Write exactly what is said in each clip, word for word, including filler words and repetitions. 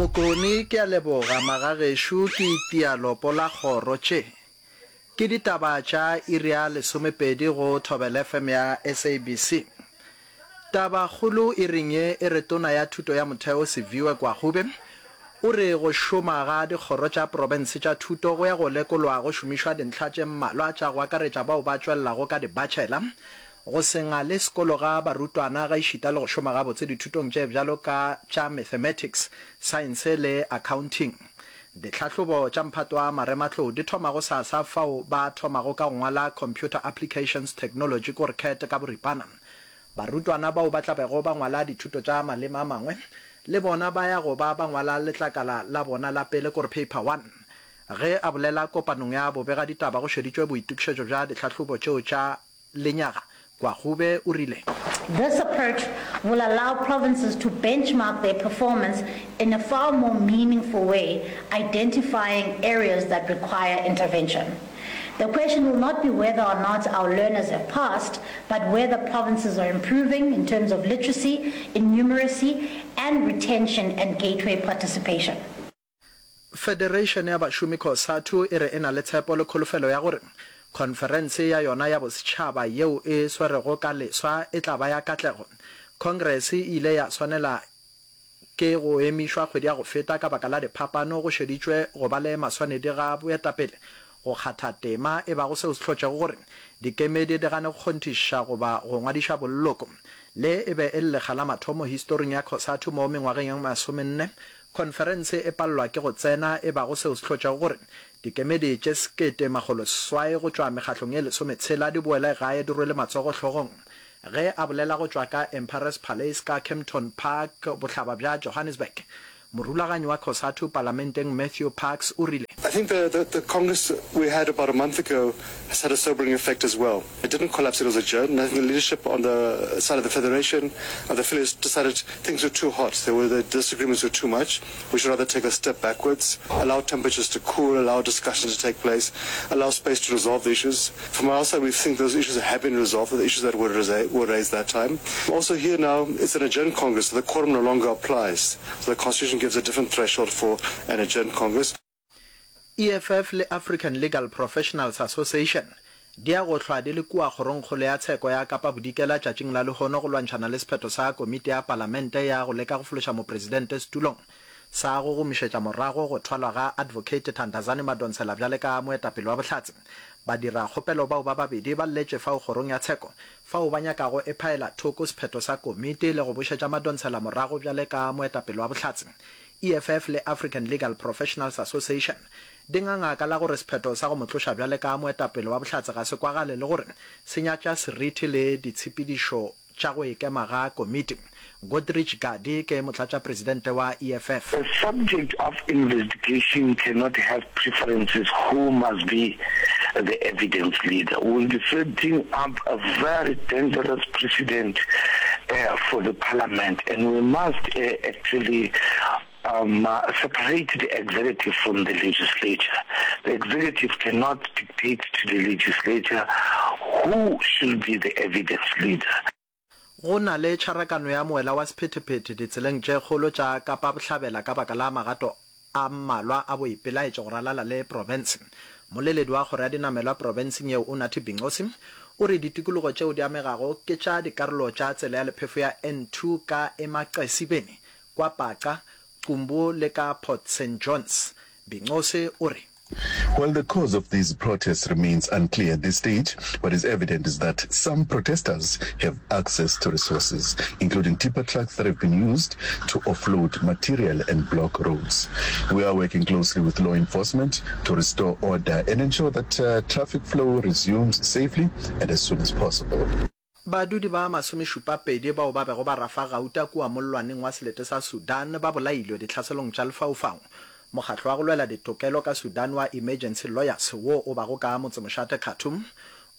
Mokone, Ke a leboga magagešo ke itia lopo la kgoro. Tše ke ditaba tša iri ya lesomepedi go Thobela F M ya S A B C. Tabakgolo iring ye e re Tona ya Thuto ya Motheo Siviwe Gwarube o re go šoma ga dikgoro tša profense tša thuto go ya go lekolwa go šomišwa dintlha tše mmalwa tša go akaretša bao ba tšwelelago ka dibachelor, go se ngale sekolo ga barutwana gaešita le go šoma gabotse dithutong tše bjalo ka tša mathematics, saense le accounting. Ditlhahlobo tša mphato wa marematlou di thoma gosasa fao ba thomago ka go ngwala Computer Applications Technology kore CAT ka boripana. Barutwana bao ba tla bego ba ngwala dithuto tša maleme a mangwe le bona ba ya go ba ba ngwala letlakala la bona la pele kore Paper One. Ge a bolela kopanong ya bobegaditaba go šeditšwe boitokišetšo bja ditlhahlobo tšeo tša lenyaga, Gwarube o rile. This approach will allow provinces to benchmark their performance in a far more meaningful way, identifying areas that require intervention. The question will not be whether or not our learners have passed, but whether provinces are improving in terms of literacy, in numeracy, and retention and gateway participation. Federation ya bašomi COSATU e re e na le tshepo le kholofelo ya gore khonferense ya yona ya bosetšhaba yeo e swerwego ka leswa e tla ba ya katlego. Congress e ile ya swanela ke go emišwa kgwedi ya go feta ka baka la diphapano go šeditšwe go ba le maswanedi ga boetapele go kgatha tema e bago seo se hlotšego gore dikemedi di gane go kgonthišiša goba go ngwadiša boleloko. Le e be e le lekga la mathomo historing ya COSATU mo mengwageng ye masomenne khonferense e palelwa ke go tsena e bago seo se hlotšego gore dikemedi tše sekete makgolo seswai go tšwa mekgahlong ye lesometshela di boele gae di rwele matsogo hlogong. Ge a bolela go tšwa ka Emperors Palace ka Kempton Park bohlaba bja Johannesburg, morulaganyi wa COSATU palamenteng Matthew Parks o rile. I think the, the, the Congress we had about a month ago has had a sobering effect as well. It didn't collapse, it was adjourned. And I think the leadership on the side of the Federation and the affiliates decided things were too hot. They were, the disagreements were too much. We should rather take a step backwards, allow temperatures to cool, allow discussion to take place, allow space to resolve the issues. From our side, we think those issues have been resolved, the issues that were, were raised that time. Also here now, it's an adjourned Congress, so the quorum no longer applies. So the Constitution gives a different threshold for an adjourned Congress. E F F le African Legal Professionals Association di ya go hlwa di le kua Kgorongkgolo ya Tsheko ya Kapa Bodikela tšatšing la lehono go lwantšhana le sephetho sa komiti ya Palamente ya go leka go fološa mopresidente setulong sa go gomišetša morago go thwalwa ga Advocate Thandazani Madonsela bjale ka moetapele wa bohlatse. Badirakgopelo bao ba babedi ba lletše fao kgorong ya tsheko fao ba nyakago e phaela thoko sephetho sa komiti le go bošetša Madonsela morago bjale ka moetapele wa bohlatse. E F F le African Legal Professionals Association di nganga ka la gore sephetho sa go mo tloša bjale ka moetapele wa bohlatse ga se kwagale le gore se nyatša seriti le ditshepedišo tša go ikema ga komiti. Godrich Gardee ke motlatšapresidente wa E F F. The subject of investigation cannot have preferences who must be the evidence leader. We will be setting up a very dangerous precedent uh, for the parliament, and we must uh, actually um, uh, separate the executive from the legislature. The executive cannot dictate to the legislature who should be the evidence leader. Go na le tšharakano ya moela wa sephethephethe ditseleng tše kgolo tša Kapa Bohlabela ka baka la magato a mmalwa a boipelaetšo go ralala le profense. Moleledi wa kgoro ya dinamelwa profenseng yeo Unathi Binqose o re ditikologo tšeo di amegago ke tša dikarolo tša tsela ya lephefo ya N two ka Emaxesibeni, kwa Paca, Qumbu le ka Port Saint Johns. Binqose o re. While the cause of these protests remains unclear at this stage, what is evident is that some protesters have access to resources, including tipper trucks that have been used to offload material and block roads. We are working closely with law enforcement to restore order and ensure that, uh, traffic flow resumes safely and as soon as possible. Badudi ba masomešupapedi bao ba bego ba rafa gauta kua mollwaneng wa selete sa Sudan ba bolailwe ditlhaselong tša lefaufau. Mokgatlo wa go lwela ditokelo ka Sudan wa Emergency Lawyers wo o bago ka motsemošate Khartoum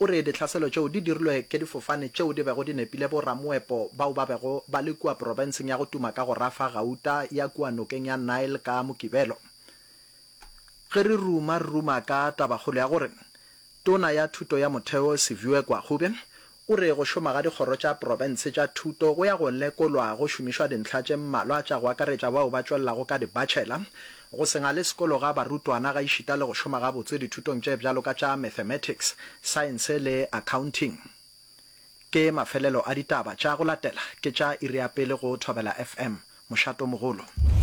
o re ditlhaselo tšeo di dirilwe ke difofane tšeo di bego di nepile boramoepo bao ba bego ba le kua profenseng ya go tuma ka go rafa gauta ya kua nokeng ya Nile ka Mokibelo. Ge re ruma re ruma ka tabakgolo ya gore Tona ya Thuto ya Motheo Siviwe Gwarube O re go šoma ga dikgoro tša profense tša thuto go ya go lekolwa go šomišwa dintlha tše mmalwa tša go akaretša bao ba tšwelelago ka di-bachelor, go se ngale sekolo ga barutwana gaešita le go šoma gabotse dithutong tše bjalo ka tša Mathematics, Saense le Accounting. Ke mafelelo a ditaba tša go latela ke tša iri ya pele go Thobela F M, mošatomogolo.